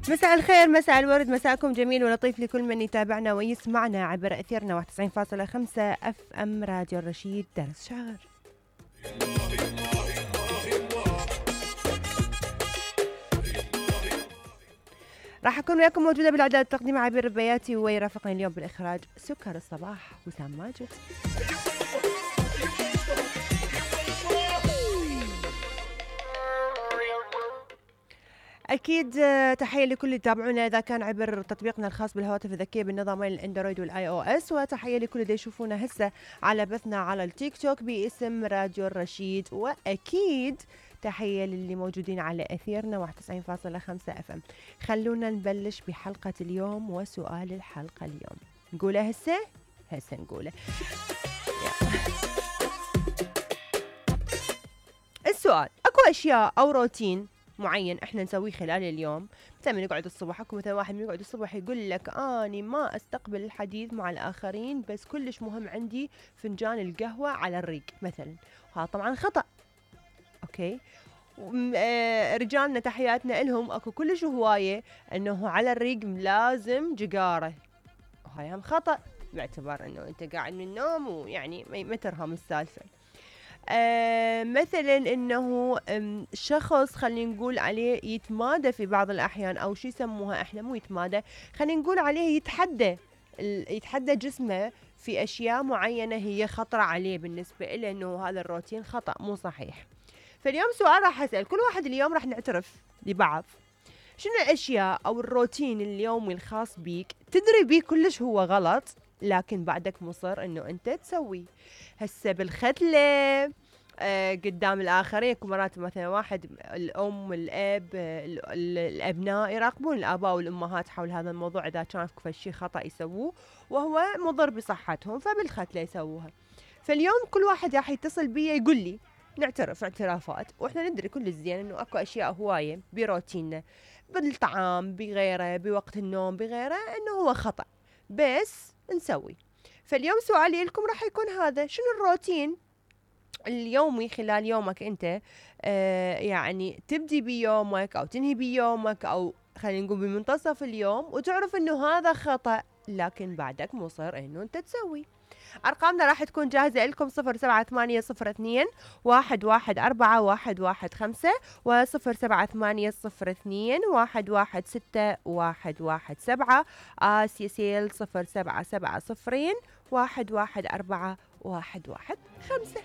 مساء الخير، مساء الورد، مساءكم جميل ولطيف لكل من يتابعنا ويسمعنا عبر أثيرنا 91.5 اف ام راديو الرشيد درس شهر. راح أكون وياكم موجودة بالإعداد التقديم عبير البياتي، ويرافقني اليوم بالإخراج سكر الصباح وسام ماجد. أكيد تحية لكل اللي يتابعونا إذا كان عبر تطبيقنا الخاص بالهواتف الذكية بالنظامين الأندرويد والآي أو إس، وتحية لكل اللي يشوفونا هسه على بثنا على التيك توك باسم راديو الرشيد، وأكيد تحية للي موجودين على أثيرنا 91.5 اف ام. خلونا نبلش بحلقة اليوم وسؤال الحلقة اليوم. نقوله هسه نقوله. السؤال: أكو أشياء أو روتين معين احنا نسويه خلال اليوم؟ مثلا من يقعد الصبح، اكو مثلا واحد من يقعد الصبح يقول لك اني ما استقبل الحديث مع الاخرين، بس كلش مهم عندي فنجان القهوة على الريق مثلا. وهذا طبعا خطأ. اوكي. رجالنا تحياتنا لهم، اكو كلش هواية انه على الريق لازم جقارة، وهاي هم خطأ باعتبار انه انت قاعد من النوم ويعني ما ترهم السالفة. مثلا انه شخص خلينا نقول عليه يتمادى في بعض الاحيان، او شو يسموها احنا، مو يتمادى، خلينا نقول عليه يتحدى جسمه في اشياء معينة هي خطرة عليه بالنسبة له، انه هذا الروتين خطأ مو صحيح. فاليوم سؤال راح اسأل كل واحد، اليوم راح نعترف لبعض شنو الاشياء او الروتين اليومي الخاص بيك تدري بيه كلش هو غلط، لكن بعدك مصر انه انت تسوي. هسه بالختلة قدام الآخرين، يكون مرات مثلا واحد الأم والأب الأبناء يراقبون الآباء والأمهات حول هذا الموضوع، إذا كان في شيء خطأ يسووه وهو مضر بصحتهم فبالختلة يسووها. فاليوم كل واحد راح يتصل بي يقول لي، نعترف اعترافات، واحنا ندري كل الزين انه اكو اشياء هواية بروتيننا، بالطعام بغيره، بوقت النوم بغيره، انه هو خطأ بس نسوي. فاليوم سؤالي لكم راح يكون هذا: شنو الروتين اليومي خلال يومك انت يعني تبدي بيومك او تنهي بيومك، او خلينا نقول بمنتصف اليوم، وتعرف انه هذا خطأ لكن بعدك مصر انه انت تسوي. ارقامنا راح تكون جاهزة لكم: 07802 114 115 و07802 116 آسيا 077 114 115.